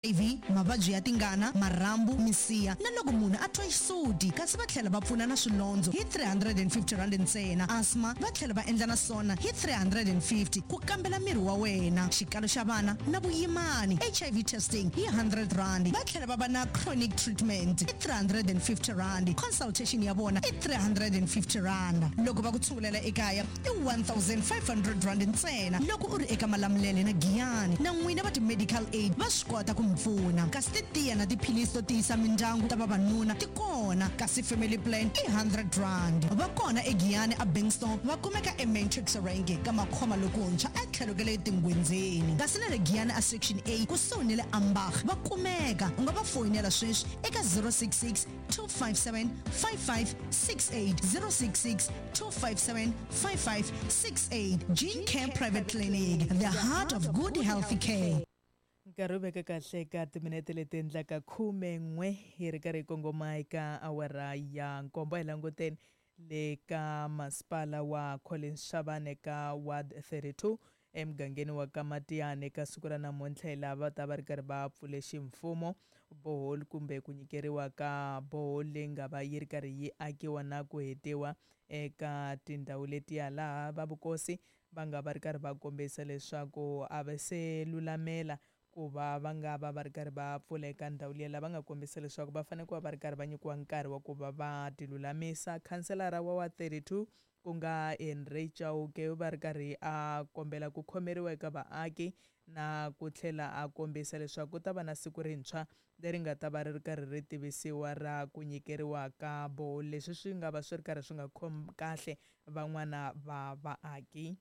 HIV, mavabyi ya tingana, marhambu, misiha na loko munhu a twa xisuti. Kasi va tlhela va pfuna na swilondzo hi R350 ntsena. Asthma va tlhela va endla na swona hi R350 ku kambela miri wa wena. Xikalo xa vana na vuyimani, HIV testing hi R100. Va tlhela va va na chronic treatment i R350. Consultation ya vona i R350. Loko va ku tshungulela ekaya i R1500 ntsena loko u ri eka Malamulele na Giyani. Na n'wina va ti-medical aid va swi kota ku mi pfuna. Kasi titiya na tiphilisi to tiyisa mindyangu ta vavanuna ti kona, kasi family plan i R100. Va kona eGiyani a Bengstone, va kumeka eMatrix Rank ka Makhoma lokuntshwa etlhelo ka le Tingwenzeni. Kasi na le Giyani a Section A kusuhi ni le Ambach va kumeka. U nga va foyinela sweswi eka 066 257 5568, 066 257 5568. Gene Care Private Clinic, the heart of good healthy care. Nkarhi wu veka kahle eka timinete leti endlaka 11 hi ri karhi hi kongoma eka awara ya nkombo. Hi languteni le ka masipala wa Collins Chabane ka Ward 32 emugangeni wa ka Matiyani eka siku ra namuntlha hi laha va ta va ri karhi va pfule ximfumo boholi kumbe ku nyikeriwa ka boholi leyi nga va yi ri karhi yi akiwa na ku hetiwa eka tindhawu letiya laha va vukosi va nga va ri karhi va kombisa leswaku a va se lulamela ku va va nga va va ri karhi va pfula eka ndhawu liya lava nga kombisa leswaku va fanele ku va va ri karhi va nyikiwa nkarhi wa ku va va tilulamisa. Khanselara wa wa 32 ku nga Henry Chauke va ri karhi a kombela ku khomeriwa eka vaaki na ku tlhela a kombisa leswaku ku ta va na siku rintshwa leri nga ta va ri ri karhi ri tivisiwa ra ku nyikeriwa ka boholi. Leswi swi nga va swi ri karhi swi nga khomi kahle van'wana va vaaki.